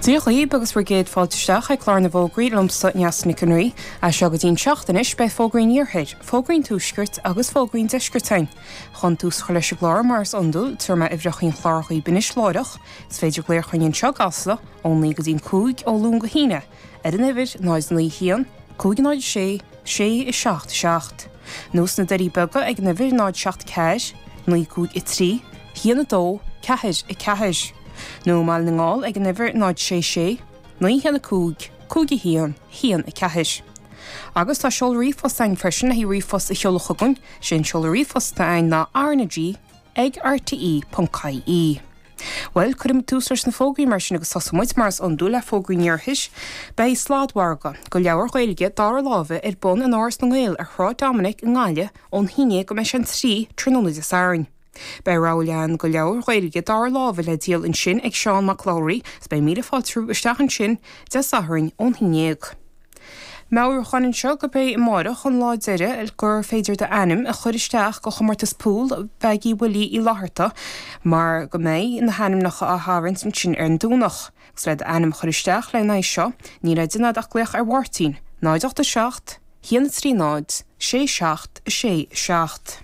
Dia dhaoib agus bhur gcéad fáilte isteach ag clár na bhfógraí liomsa Neasa Nic an Rí. As seo go dtí an seacht anois beidh fógraí an iarthair, fógraí an tuaiscirt agus fógraí an deiscirt againn. Chun tús a chur leis an gclár mar is iondúil, tabharfaidh mé uimhreacha an chláir dhaoib anois láithreach. Is féidir glaoch chugainn anseo i gCasla ó 9 go dtí an 5 ó Luan go hAoine ar an uimhir 0 9 1 5 0 6 6 7 7 nó sna Doirí Beaga ag an uimhir 0 7 4 9 5 3 1 2 4 4 nó i mBaile na nGall ag an uimhir 0 6 6 9 1 5 5 1 1 4. Agus tá seoladh ríomhphost againn freisin le haghaidh ríomhphost a sheoladh chugainn, sé an seoladh ríomhphost atá againn ná RnaG ag rte.ie. Bhuel, cuirfidh muid tús leis na fógraí mar sin agus tosóidh muid, mar is iondúil, le fógraí an iarthair. Beidh sladmhargadh go leabhair Ghaeilge dara láimhe ar bun in Áras na nGael ar Shráid Dominic i nGaillimh ón haon déag go mbeidh sé an 3 tráthnóna Dé Sathairn. Beidh rogha leathan go leabhair Ghaeilge dara láimhe le díol ansin ag Seán Mac Labhraí is beidh míle fáilte romhaibh isteach ansin Dé Sathairn ón haon déag. Meabhrúchán anseo gurb é amáireach an lá deiridh gur féidir d'ainm a chur isteach go chomórtas pool Mheaigí Willie Uí Fhlatharta mar go mbeidh na hainmneacha á tharraingt ansin ar an Domhnach. Agus le d'ainm a chur isteach le haghaidh seo níl le déanamh ach glaoch ar Mháirtín, 0 8 7 1 3 0 6 7 6 7.